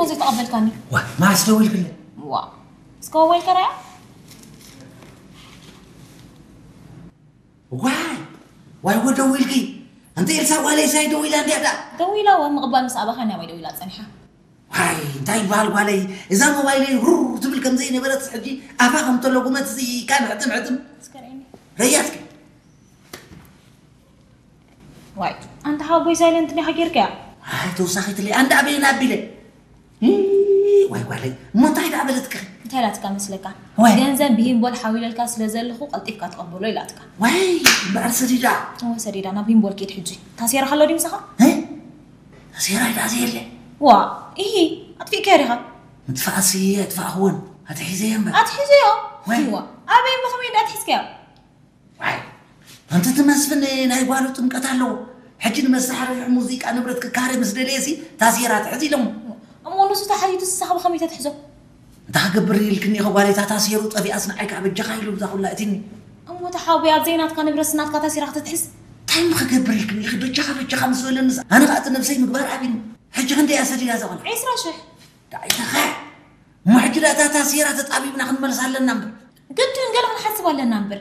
ዘይተቐበልካኒ። ዋ፣ ማስ ደው ኢልክለ? ዋ፣ እስከ ወይልከ ራያ? ዋይ፣ ዋይ፣ ወ ደው ኢልኪ? ኣንቲ ኤልሳ ጓለይ ሳይ ደው ኢላ እንድያ ዳ? ደው ኢላ ወ ምቕባል ምስ ኣባኻ ናባይ ደው ኢላ ጸኒሓ። ዋይ፣ እንታይ ይበሃል ጓለይ? እዛ ሞባይለይ ሩር ትብል ከም ዘይነበረት ሕጂ ኣፋ ከም ተለጉመት እዚ ካን ሕጥም ሕጥም። እስከ ርእየኒ። ረያትኪ? ዋይ፣ ኣንታ ሓወቦይ ሳይለንት ዲኻ ጌርካያ? ኣይ፣ ተወሳኺትለይ፣ ኣንዳ ኣበየን ኣቢለ። እ፣ ዋይ ጓለይ፣ እሞ እንታይ ደኣ በለትኪ? እንታይ ኢላትካ መስለካ? ዋይ። ገንዘብ ብሂምቦል ሓዊለልካ ስለ ዘለኹ ቀልጢፍካ ተቐበሎ ኢላትካ። ዋይ፣ እምበኣር ሰዲዳ። እወ ሰዲዳ፣ ናብ ሂምቦል ኪድ ሕጂ። ታሴራ ከሎ ድዩ ምሳኻ? እ? ታሴራ ደኣ ዘየለ። ዋ፣ ኢሂ፣ ኣጥፊእካዮ ዲኻ? ምጥፋእሲ ኣይጥፋእኽዎን፣ ኣትሒዘዮ እምበር። ኣትሒዘዮ? ዋይ። ዋ፣ ኣበይ እሞ ከመይ ደኣ ኣትሒዝካዮ? ዋይ፣ ኣንቲ እቲ መስፍን ናይ ጓሉ ጥምቀት ኣለዎ። ሕጂ ንመሳርሒ ሙዚቃ ንብረት ክካረ ምስ ደለየሲ ታሴራ ትሕዝ ኢሎሞ። እሞ ንሱ ተሓቲቱ ንስኻ ብኸመይ ተትሕዞ? እንታይ ክገብር ኢልክኒ ኢኸ ጓለይ፣ እታ ታሴሩ ጠፊኣስ ንዓይ ከዓ በጃኻ ኢሉ እዛ ኩላ እቲኒ። እሞ ተሓውየ ኣብ ዘይናትካ ንብረት ናትካ ታሴራ ክትትሕዝ? እንታይ እሞ ክገብር ኢልክኒ ኢኺ በጃኻ በጃኻ ምስ በለንስ ኣነ ከዓ እቲ ነብሰይ ምግባር ኣብዩኒ። ሕጂ ክንደይ እያ ሰዲዳ እዛ ቆልዓ? ዒስራ ሽሕ። ዳኣ ኣይተኸዕ። እሞ ሕጂ ደኣ እታ ታሴራ ተጣቢብና ክንመልሳ ኣለና እምበር። ግድን ገለ ክንሓስብ ኣለና እምበር።